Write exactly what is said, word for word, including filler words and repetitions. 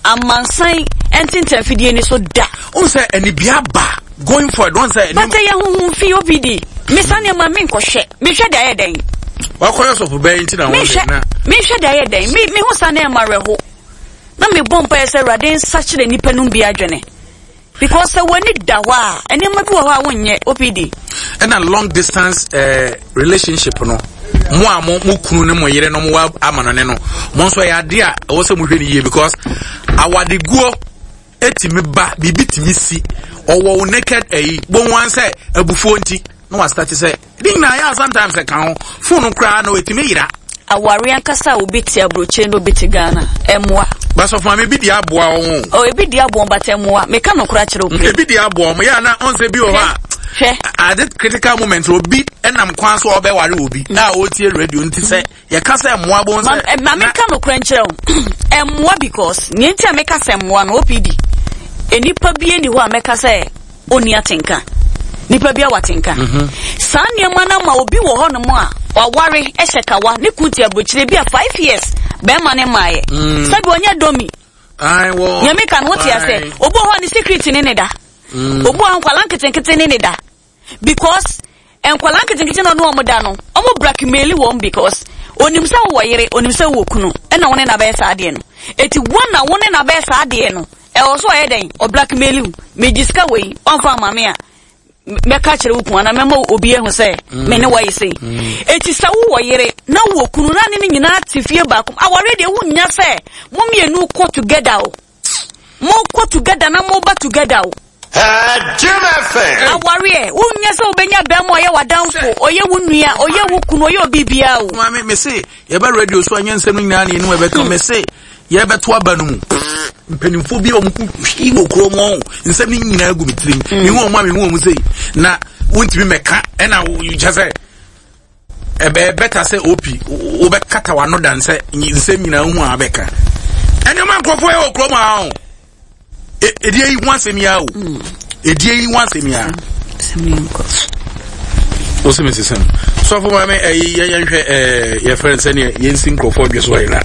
Amansan ntentɛnfidie ni so da. N sɛ anibia ba going forward wɔn sɛ. Bàtɛ yɛ huhu fi obi di misa nneɛma mi nkɔhwɛ, mehwɛ de ayɛ dɛn? Wakɔyɛ sɔfo bɛyɛ nti na wɔn de na. Mehwɛ de ayɛ dɛn? Mi mi ho sa nneɛma rɛho na mi bɔ mpa yɛ sɛ Awurade nsa kyerɛ nipa no bi adwene, because sɛ w'ani da hɔ a, nneɛma bi wɔ hɔ a wonyɛ O P D. Ɛna long distance uh, relationship no, mo a mo mo kunu ne mo yere no mo wa ama no ne no, mo nso ɛyɛ adeɛ a ɛwɔ sɛ mo hwɛ ne yie, because awadeguo etimi ba, biribi timi si, ɔwɔ wo naked ɛyi bon wan sɛ abufuo nti na wa start sɛ ne nyinaa yɛ a, sometimes ɛka ho, phone koraa na etimi yira. Aware ankasa a, obi te aburokyire na obi te Ghana, ɛmmoa. Basɔfo maame, bi di aboa wɔn. O, ebi di aboa, but ɛmmoa. Meka nokora kyerɛ o. Ebi di aboa wɔn yɛ ana ɔnsɛ bi wɔ hɔ a hwɛ at this critical moment, obi ɛnam kwan so a ɔbɛware obi na ɔretie radio nti sɛ yɛka sɛ mmoa bɔ sɛ. Ma meka nokora nkyerɛ wo, ɛmmoa, because nea nti a meka sɛ mmoa no, O P D, nipa bi ni hɔ a mɛka sɛ ɔnni atenka. Nipa bi a watenka saa nneɛma no ma obi wɔ hɔnom a waware hyɛ kawa ne kun te aburokyire bi a five years bɛrima ne maayɛ sɛbi ɔnyɛ dɔmi. Nyame ka no, wote ase, obi wɔ hɔ a ne secret ne ne da, obi wɔ hɔ nkwala nketenkete ne ne da, because nkwala nketenkete na ɔne ɔmo da no, ɔmo blackmail wɔn, because onim sɛ wowɔ yere, onim sɛ wowɔ kunu, ɛna wo ne na bɛyɛ saa adeɛ no. Eti wɔn na wo ne na bɛyɛ saa adeɛ no, ɛwɔ so ɔyɛ dɛn? Ɔblackmail wo, megye sika wei, ɔnfa ama me a, mɛka kyerɛ wo kun ana mɛma obi ehu sɛ me ne wɔyɛ sei. Eti sɛ wowɔ yere na wowɔ kunu na ne ne nyinaa te fie baako, awɔre deɛ wonya sɛ mo mmienu kɔ together o, mo kɔ together na mo ba together o. Jim F M. Awareɛ wonya sɛ wobɛnya bɛrima ɔyɛ w'adamfo, ɔyɛ wo nua, ɔyɛ wo kunu, ɔyɛ obi biara o. Maame, me se yɛbɛ radio so anyɛ nsɛm no nyinaa ne yɛnum ɛbɛka. Me se yɛbɛto aba no mu, mpanimfoɔ bi a wɔn hwii wɔ kurom hɔ, nsɛm no nyinaa gu me tirim. Mehu wɔn a mehu wɔn sei na wontumi mɛka, ɛna kyɛ sɛ ɛbɛyɛ bɛta sɛ opi wobɛkata w'ano dan sɛ nsɛm nyinaa hu a bɛka ɛnneɛma nkurɔfoɔ yɛ wɔ kurom ha o. Ɛdeɛ yi ho asɛm yi a o, ɛdeɛ yi ho asɛm yi a wosi mi sisan sɔfo maame, ɛyi yɛn yɛn hwɛ, ɛɛ yɛfrɛ no sɛdeɛ yɛnsi nkurɔfoɔ dwe so yɛ na